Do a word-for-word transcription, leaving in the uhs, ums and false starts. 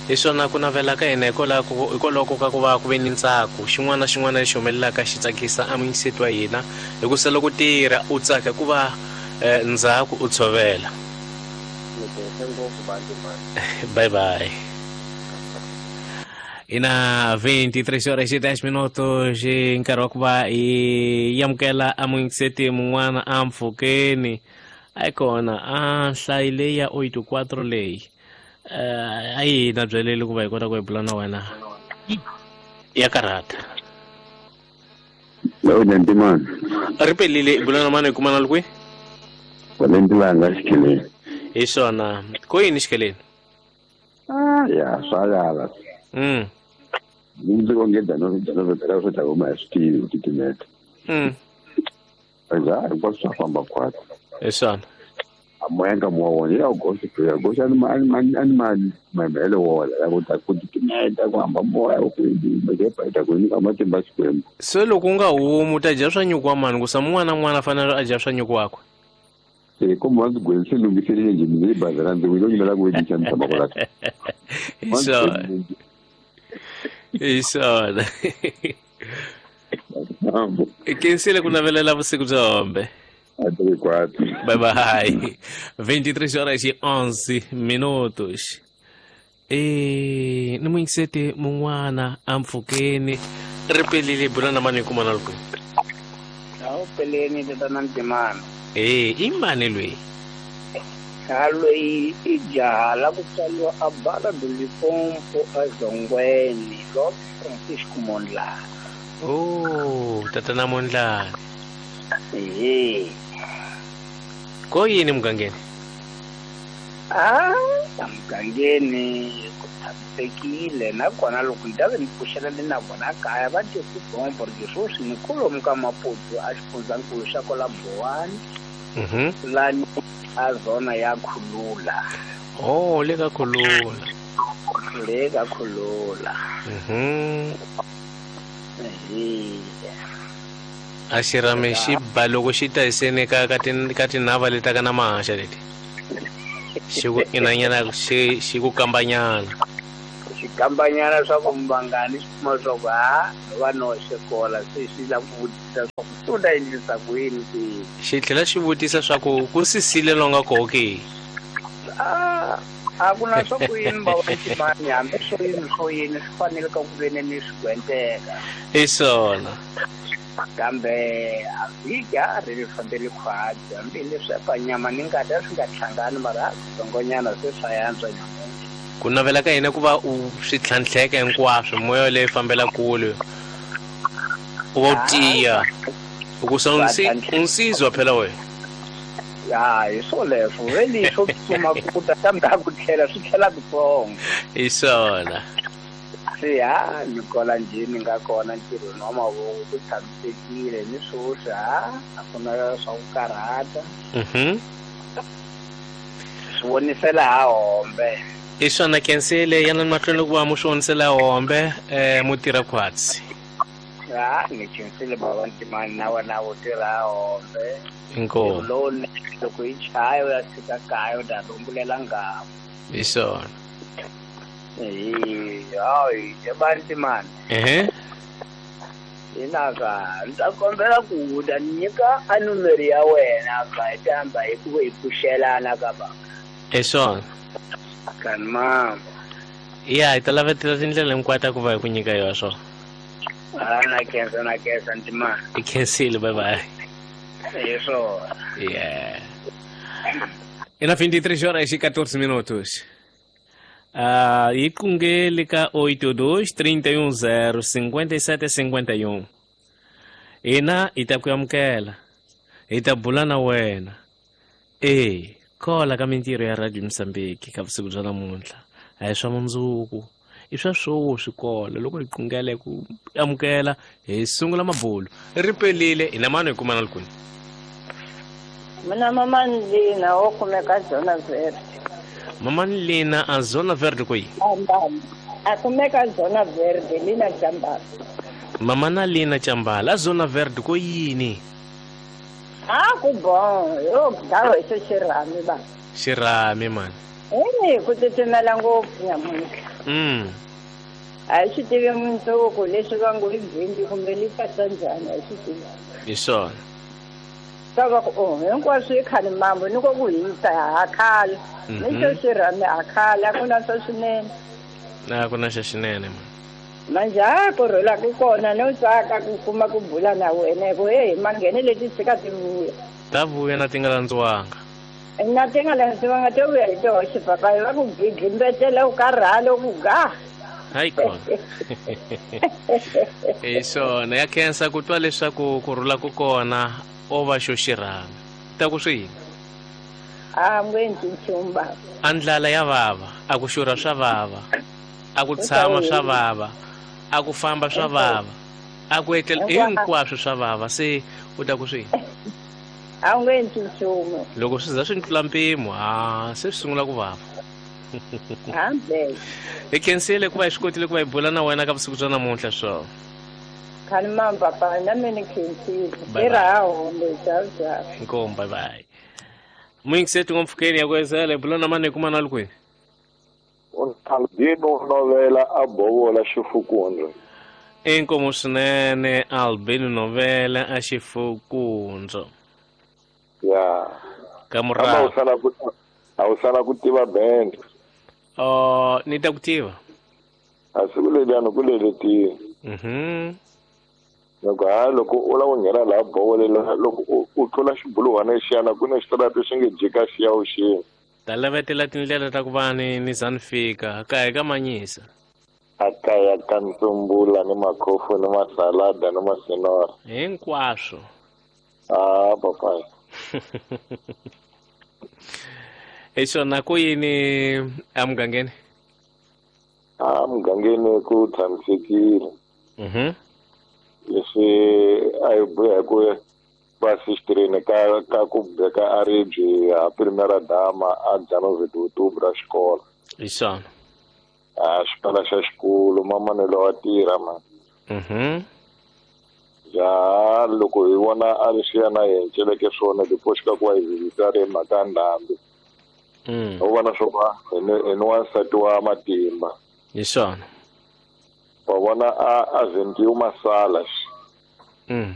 Hi swona ku navela ka hina hikwalaho ka ku va ku ve ni ntsako. Xin'wana na xin'wana lexi humelelaka xi tsakisa a muyingiseti wa hina. Hikusa loko tirha u tsaka ku va ndzhaku u tshovela. Bye bye. Ina vinte e três horas e dez minutos nkarhi wa ku va hi amukela a muyingiseti mun'wana a mpfhukeni. A yi kona a nhlayi leyi ya oito quatro leyi. A yi na byeleli ku va hi kota ku hi bula na wena. Ya karhata. Ri pelile bula na mani hi kumana li kwihi? Valentilanga xikheleni. Hi swona. Ko yini xikheleni? Ah, ya swa yala. Mm. Ndzi ongeda no no no swi ta huma hi switivi ku titimeta. Mm. Aza hinkwaswo swa famba khwatsi. Hi swona. A moya ka moya wona ya goxa ya goxa ani ma ani ani ma mamele wona ya ku ta ku titimeta ku hamba moya ku yi ku nyika matimba Xikwembu. Se loko u nga humi u ta dya swa nyuku wa mani ku sa mun'wana na mun'wana a fanele a dya swa nyuku wakwe. Se ko mo ndzi gwense lunghiselile njhe ndzi bazara ndzi wilo nyimela ku vedisa ni tshama kwala. Hi swona. Hi swona. Kensile ku navelela vusiku bya hombe. Bye bye. vinte e três horas e onze minutos. E ni muyingiseti mun'wana a mpfhukeni ri pelile bula na mani hi kumana li kwihi? A wu peleni tatana Ntimana. E i mani loyi? Ha loyi i jaha la ku tswariwa a Bala do Limpopo a Zongweni, Lord Francisco Mondlane. Oh, tatana Mondlane. Ehe. Ko yini mugangeni? Ah, mugangeni ku tshamisekile nakona loko ni ta ve ni pfuxela ni na vona kaya va tye swibombo ri sweswi ni kolomu ka Maputo a xifundzankulu xa kwala Bowani. Mhm. Lani a zona ya Khulula. Oh, le ka Khulula. Le ka Khulula. Mhm. Ehe. A xirhami xi ba loko xi ta hiseni ka ka tin ka tinhava leti ka na mahaxa leti. Xi ku inanyana xi xi ku kambanyana. Xi kambanyana swa ku mbangani xi kuma swa ku ha va no xikola se xi la ku vutisa swa ku u ta endlisa ku yini ke. Xi tlhela xi vutisa swa ku ku sisile longa koho ke. Ah, a ku na swa ku yini ba wa Ntimani hambi swo yini swo yini swi fanele ka ku veni ni swi gwenteka. Hi swona. Kambe a vhiki a ri ri fambele khwatsi hambileswi pa nyama ni ngati a swi nga hlangani mara tsongonyana se swa yantswa nyamuntlha. Ku navela ka hina ku va u swi tlhantlheka hinkwaswo moya leyi fambela kule u va u tiya u ku sa unsizwa phela wena. Ya hi swoleswo veli swo tsutsuma ku ta kambe a ku tlhela swi tlhela kutsongo. Hi swona. Se ha ni kola njhe ni nga kona ntirhweni wa mavoko ku tshamisekile ni swoswi ha a ku na swa ku karhata. Mhm. Swi vonisela ha hombe. Hi swona kensile yana mahlweni loko va mu swi vonisela hombe eh mu tirha khwatsi. Ha ni khensile bava Ntimani na wena wo tirha hombe. Inkomu. Lowu loko yi chaya u ya tshika kaya u ta rumbulela nghamu. Hi swona. Eh, hayi, ebantimani. Eh. Ina ka, ndzi ta kombela ku u ta nyika a numero ya wena ka hi ta hamba hi ku hi pfuxelana ka ba. Hi swona. Kan mama. Ya, hi ta lavetela tindlela hinkwato ku va hi ku nyika yona swona. Ah, na khensa na khensa Ntimani. I khensile, bye bye. Hi swona. Yeah. Ina vinte e três horas e quatorze minutos. Ah, e qungele ka oito dois trinta e um zero cinquenta e sete cinquenta e um. Ina hi ta ku amukela. Hi ta bula na wena. E kola ka mintirho ya Radio Mozambique ka vusiku bya namuntlha. A hi swa mundzuku. I swa sweswi kola loko hi qungele ku amukela hi sungula mabulo. Ri pelile hi na mani hi kumana likuni. Mina mama Lina wo kumeka Zona Verde. Mama Lina a Zona Verde kwihi? A kumeka Zona Verde Lina Chambala. Mama na Lina Chambala a Zona Verde ko yini? Ah ku bon, yo dawo xo xirhami ba. Xirhami man. Eh, ku titimela ngopfu nyamuntlha. Mm. A hi swi tivi mundzuku leswi va ngo i bindi kumbe li pasa njhani a hi swi tivi. Hi swona. Ka va ku oh hinkwaswo i khale mambo ni ko ku hisa ha khala. Ni xo xirhami ha khala a ku na swa swinene. Na ku na xa xinene man. Manje ha ku rhula ku kona no tsaka ku kuma ku bula na wena hi ku heyi manghene leti tshika ti vuya. Ta vuya na ti nga landziwanga. Na ti nga landziwanga to vuya hi toxe papayi va ku gidlimbetela u karhala u ku ga. Hayi kona. Hi swona ya khensa ku twa leswaku ku rhula ku kona o va xo xirhami. Ta ku swi yini? A nge endli nchumu baba. A ndlala ya vava, a ku xurha swa vava, a ku tshama swa vava, a ku famba swa vava, a ku etlela hinkwaswo swa vava se u ta ku swi yini? A nge endli nchumu. Loko swi za swi tlula mpimo, ha se swi sungula ku vava. Hambe. Hi khensile ku va hi swi kotile ku va hi bula na wena ka vusiku bya namuntlha swona. Khani mam papa na mina khensile. Tirha ha hombe ciao ciao. Inkomu bye bye. Muyingiseti ngompfhukeni ya ku ezela hi bula na mani hi kuma na le kwini? Albino Novela a Bovola Xifukundza. Inkomu swinene Albino Novela a Xifukundza. Ya. Ka murahu. A wu sala ku tiva band. Oh, ni ta ku tiva. A siku leriya ku leletile. Mhm. Loko ha loko u lava ku nghena laha Bovolela loko u tlula xibuluhwana lexiyana ku na xitarata xi nge jika xiya vuxeni. Ta lavetela tindlela ta ku va ni ni za ni fika kaya ka Manyisa. A kaya ka ntsumbula ni makhofu ni masalada ni masinora. Hinkwaswo. Ah, papayi. Hi swona ku yini emugangeni? A mugangeni ku tshamisekile. Mhm. Leswi a hi buya hi ku va sixteen ka ka ku beka a ribye ha primera dama a January ra xikolo. Hi swona. A xikolo xa xikolo mamanelo wa tirha man. Mhm. Ja loko hi vona a leswiya na hi enceleke swona loko xika ku va hi vizisa ri mhaka ndhambi. Mm. U vona swo va hi ni wansati wa matimba. Hi swona. Wa vona a a zendiwa masala. Mm.